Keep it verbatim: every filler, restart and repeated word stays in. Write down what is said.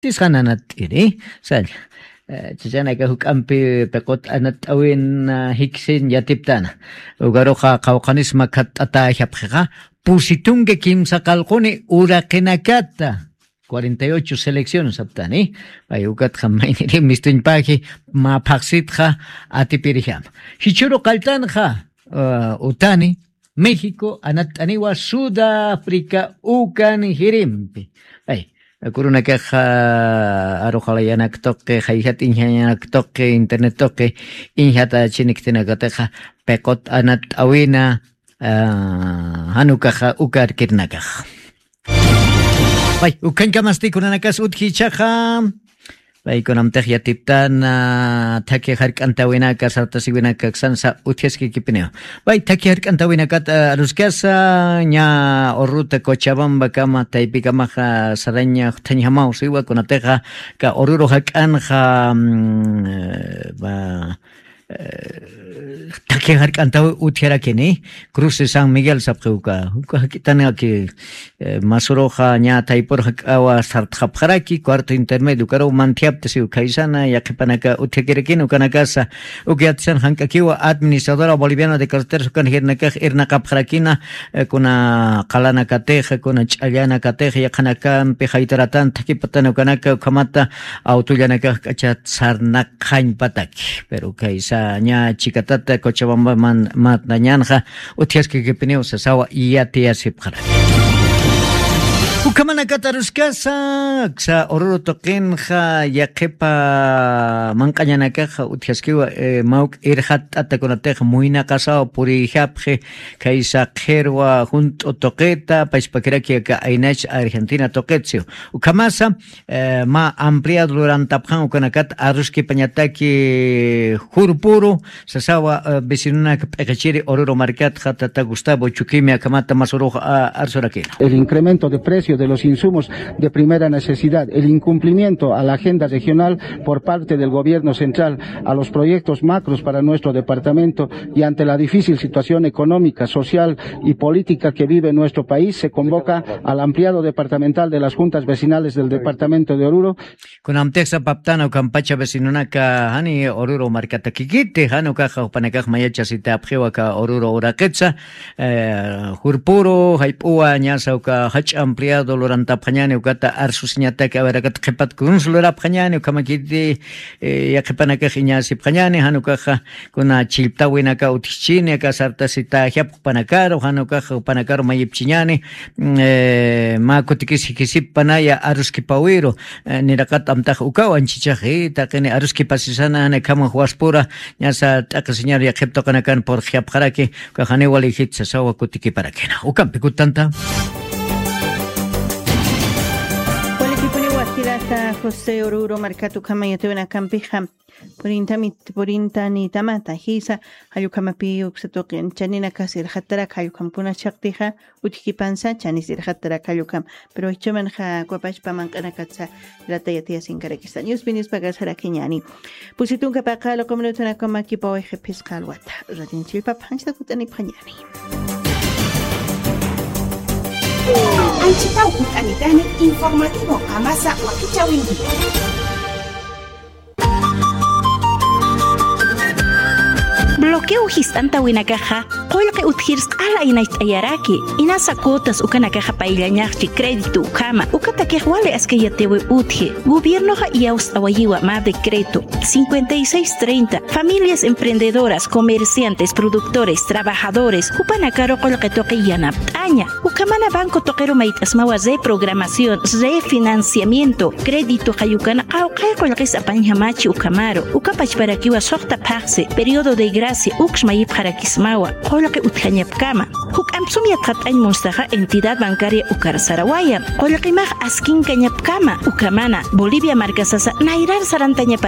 Tisqan anatt'iri, salla. Eh, chachanaka juk'ampi piqut anatt'awin, ah, jiksin yatiptana. Ukaruxa qawqhanisma khatt'atäxapxixa, pusitunki kimsa qallquni uraqinakata, cuarenta y ocho selecciones saptani. Pay ukatxa mayniri mistuñpaji, mä phaxsitxa atipirjama. Jichhüru qalltanxa, ah, utani, México anatt'aniwa Sudáfrica ukan jirimpi. Ay, kurunakaxa, ah, aruxalayanak tuqi, jayjat iñjayanak tuqi, internet tuqi, iñjata chiniktinakatixa, piqut anatt'awina, ah, jan ukaxa, uka arkirinakaxa. Pay, ukhañkamasti kunanakas utji ichhaxa. Pay, kunamtix yatiptana, thakhi jark'antawinaka, sartasiwinaka aksansa utjaskikipiniw. Pay, thakhi jark'antawinakat, ah, aruskasa, ña Oruruta Cochabambakama, taypikamaxa saraña juthañjamaw siwa, kunatixa, ka Oruro jak'anxa, mm, eh, va, eh, thakhi jark'antaw utjarakini, Cruz de San Miguel sapxi uka. Uka jak'itanaki, eh, masuruxa ña thaypur jak'awa sartxapxaraki, cuarto intermedio, ukaruw manthiapta siw khaysana, yaqhipanaka utjakirakini, ukanakasa, uka yatisan jank'akiwa Administradora Boliviana de Carreteras ukan jirinakax irnaqapxarakina, eh, kuna qalanakatix, kuna ch'allanakatix, yaqhanakampi jaytaratan thakipatana ukanaka, ukhamata awtullanakax k'achat sarnaqxañpataki. Pero kaysa ña chikatata Cochabamba man-, mantañanxa utjaskikipiniw sasawa yatiyasipxaraki. Ukhamanakata aruskasa, aksa Oruro tuqinxa yaqhipa manq'añanakaxa utjaskiwa, eh, mawk irxatt'ata kunatix muynaqasaw puriyjapxi, kaysa qhirwa junt'u tuqita, pachpakiraki aka aynach Argentina tuqit siw. Ukhamasa, eh, mä ampliado lurantapxan ukanakat aruskipañataki jurpuru, sasawa, eh, vecinonak p'iqichiri Oruro markatxa tata Gustavo Chuquimi akhamata masuruxa, ah, arsurakina. El incremento de precio de los insumos de primera necesidad, el incumplimiento a la agenda regional por parte del gobierno central, a los proyectos macros para nuestro departamento y ante la difícil situación económica, social y política que vive nuestro país, se convoca al ampliado departamental de las juntas vecinales del departamento de Oruro. Kunamtix sapaptana ukampacha vecinonaka jani Oruro markatakikiti, jan ukaxa jupanakax mayachasitapxiwa aka Oruro uraqitsa, eh, jurpuru, jayp'uwa, ñasa uka jach'a ampliado lurantapxañani, ukata arsusiñataki, a ver, akata qhipat kunsa lurapxañani, ukhamakiti, eh, yaqhipanakax iñasipxañani, jan ukaxa kuna chillptawinaka utjchini, aka sartasitäjapx jupanakaru, jan ukaxa jupanakaru mayipchiñani, mm, eh, mä kutikis jikisipanaya aruskipawiru, eh, niraqat amtax ukaw anchichaxi, taqini aruskipasisana, jan ukhamax waspura, ñasa t'aqhisiñar yaqhip tuqinakan purxjapxaraki, ukax janiw walijit sasawa kutikiparakina. Ukampi kutanta. Walikipuniwa jirasa José Oruro markat ukhama yatiyawinakampixa, purintami, purintanitamata jisa, jall ukhamapi uksa tuqin, chaninakasa irxattarak jall ukhamkuna chhaqtixa, utjkipansa, chanis irxattarak jall ukham. Pero jichhamanxa kwapachpa manq'anakatsa, rata yatiyasinkarakista. Ñuspinispakasarakiñani. Pusi tunka paqalu q'uminutunakama kipawayxi phisqa alwata. Ratin chillpap janchita kut'anipxañani. Anchitaw kut'anitani informativo qamasa wakichäwinki. Bloqueo jist'antawinakaxa, qullqi utjirs q'ala aynacht'ayaraki, inasa cuotas ukanakaxa payllañaxchi crédito ukhama, ukatakix wali askay yatiwi utji, gobiernoxa iyawst'awayiwa mä decreto cincuenta y seis treinta, familias emprendedoras, comerciantes, productores, trabajadores, jupanakaru qullqi tuqi yanapt'aña. Ukhamana banco tuqiru mayt'asmawa reprogramación, refinanciamiento, crédito jall ukana qawqhay qullqis apañjamachi ukhamaru. Uka pachparakiwa suxta phaxsi, periodo de gracia, uks mayipxarakismawa, qullqi utjañapkama. Juk'amp sum yatxat'añ munstaxa entidad bancaria ukar sarawaya. Qullqimax askinkañapkama, ukhamana, Bolivia markasasa nayrar sarantañapat